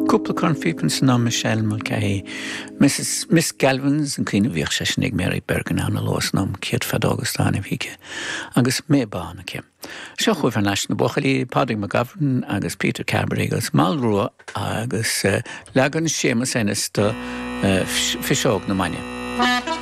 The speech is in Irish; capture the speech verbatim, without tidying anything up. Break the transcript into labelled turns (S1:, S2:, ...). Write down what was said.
S1: Cúpla cornphíopa san am Michelle Mulcahy, Mrs. Miss Galvins an caoineadh bhíodh sé sin ag Mary Bergin ann a lós am céad feadóg stána bhíce, agus mé bán aici. Seo chugaibh thar n-ais na buachaillí Pádraig McGovern agus Peter Carberry agus Malrua agus uh, leagan Séamus Ennis de uh, Fuiseog na Maine.